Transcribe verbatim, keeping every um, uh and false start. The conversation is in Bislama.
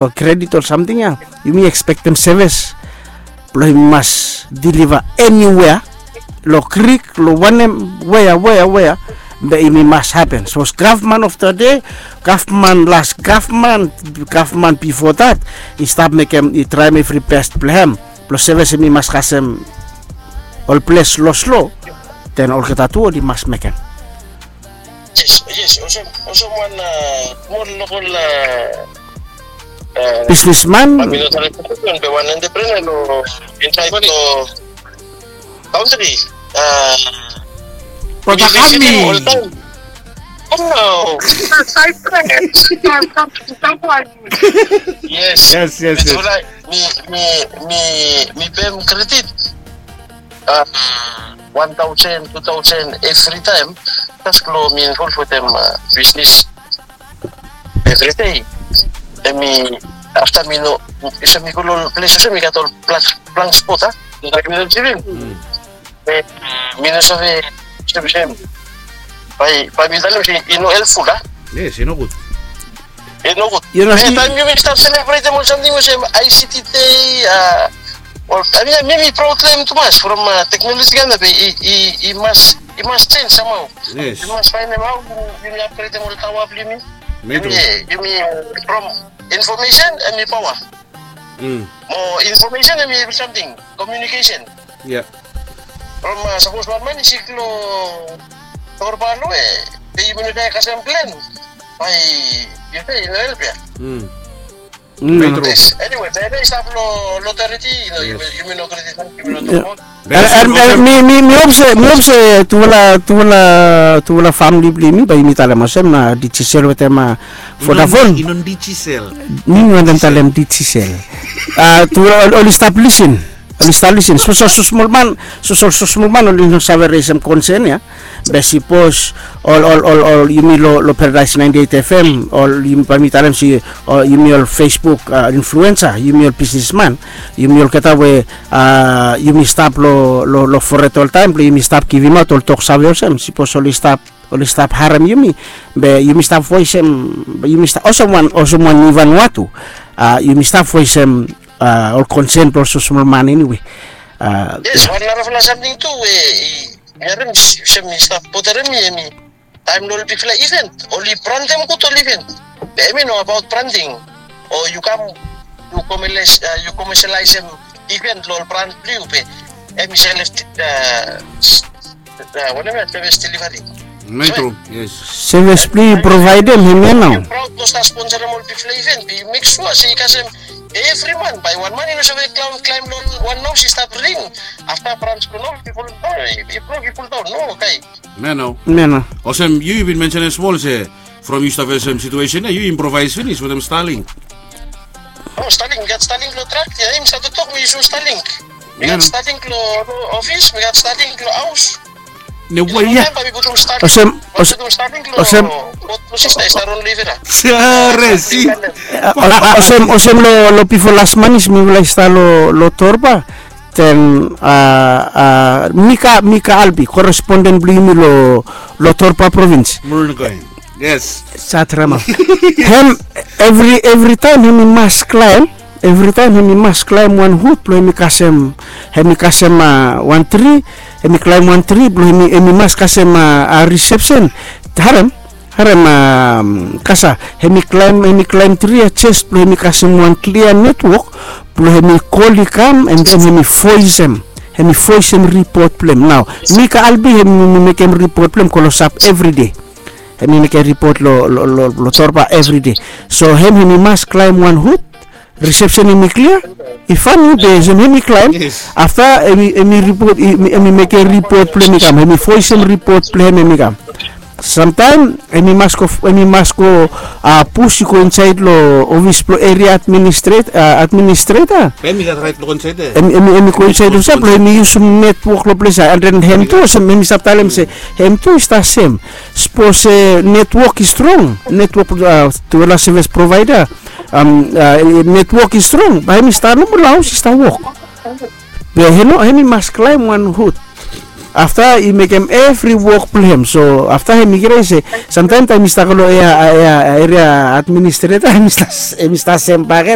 ol kredit ol samting ya, yumi ekspektem sevis blong yumi mas diliva eniwea, long krik, long wanem, wea wea wea, be yumi mas hapen. Sapos gavman of the day, gavman las gavman, gavman bifo dat, i stap mekem, i traem evri bes blong hem blong sevis, yumi mas kasem ol ples loslo, den olgeta tu oli mas mekem. Yes, yes, olsem, olsem wan smol lokol bisnisman, be wan entrepreneur long insaed long kantri. Brata Kami. Oltaem. Oh no. Yes. Yes, yes, yes. Mi, mi, mi, mi pem kredit wan taosen, tu taosen evri taem, jes blong mi involv wetem bisnis evri dei. Hemi afta mi no, olsem mi go long ples olsem mi gat ol blank spot, a, mi no givim. Mi no save olsem, olsem bae, bae mi talem se i no helpful, a. Yes, i no gud. I no gud. Taem yumi stap selebretem ol samting olsem I C T Day, a, ol, I mean, mi, mi problem tumas from teknoloji kama be i, i, i mas, i mas jenj samhao. Yes. Yumi mas faenem hao yumi, yumi apgredem ol taoa blong yumi. Yumi, yumi from infomesen hemi paoa. Mo infomesen hemi evri samting, komiunikesen. From sapos wan man i sik long Torba, long we be yumi no save kasem plen, bae yu se i no help ya. Tru. Yes. Eniwe, be hemi stap long otoriti, yumi no kredit, yumi no tokbaot. Mi, mi, mi hop se, mi hop se tufala, tufala, tufala famili blong yumi bae yumi talem olsem na Digicel wetem Vodafone. I no Digicel. Mi wantem talem Digicel. Tufala oli stap lisin. Oli stap lisin. Sapos ol smol man, sapos ol smol man oli no save resem konsen ya. Be sipos ol, ol, ol, ol yumi long, long Paradise ninety-eight F M, ol yumi, bae mi talem se ol yumi ol Facebook influensa, yumi ol bisnisman, yumi olgeta we yumi stap long, long, long fored oltaem blong yumi stap givimaot ol toksave olsem, sipos oli stap, oli stap harem yumi, be yumi stap voesem, yumi stap olsem wan, olsem wan Ivan Watu, yumi stap voesem ol konsen blong ol smosmol man eniwe. Yes, wan narafala samting tu we i, mi harem olsem i stap bodarem mi, hemi taem long ol bigfala iven, oli brantem gud ol iven. Be hemi no abaot branting. O yu kam, yu komeles, yu komesialaesem iven long ol brand blong yu be hemi selef, wanem ya, sevis delivari. Tru. Yes. Sevis blong yu provaedem hemia nao. Yu praod blong stap sponsorem ol bigfala iven be yu mek sua se i kasem evri man, bae wan man i no save klaem, klaem long wan haos i stap ring. Afta brans blong haos i fuldaon, i brok, i fuldaon, no, okay. Meno. Meno. Olsem yu, yu bin mensenem smol se from yu stap fesem situesen ya yu improvaes finis wetem Starlink. O, Starlink, mi gat Starlink long trak ya, mi stap toktok mi yusum Starlink. Mi gat Starlink long, long ofis, mi gat Starlink long haos. Ne we ya. Olsem, olsem, olsem. Sore, si. Olsem, olsem long, long bifo las manis mifala i stap long, long Torba. Then Mika, Mika Albi, koresponden blong yumi long, long Torba provins. Yes. Satrama. Hem, evri, evri taem hemi mas klaem, evri taem hemi mas klaem wan hut blong hemi kasem, hemi kasem wan tri, hemi klaem wan tri blong hemi, hemi mas kasem a risepsen. Harem, harem, kasa, hemi klaem, hemi klaem tri ya jes blong hemi kasem wan klia netwok blong hemi kol i kam, and then hemi voesem, hemi voesem ripot blong hem. Nao Mika Albi hemi mekem ripot blong hem klosap evride. Hemi mekem ripot long, long, long Torba evride. So hem, hemi mas klaem wan hut, risepsen hemi klia. I fani be olsem hemi klaem. Afta hemi, hemi ripot, hemi mekem ripot blong hem i kam, hemi voesem ripot blong hem, hemi kam. Samtaem hemi mas go, hemi mas go pus i go insaed long ofis blong eria administreta. Hemi, hemi go insaed olsem blong hemi yusum netwok long ples ya, and then hem tu olsem hemi stap talem se hem tu i stap sem. Sapos se netwok i strong, netwok, tufala sevis provaeda, netwok i strong, bae hemi stap nomo long haos i stap wok. Be hemi no, hemi mas klaem wan hut. Afta i mekem evri wok blong hem. So afta hem i krai se, samtaim taim mi stap go long ea ea eria administreta, hem i stap sem baken.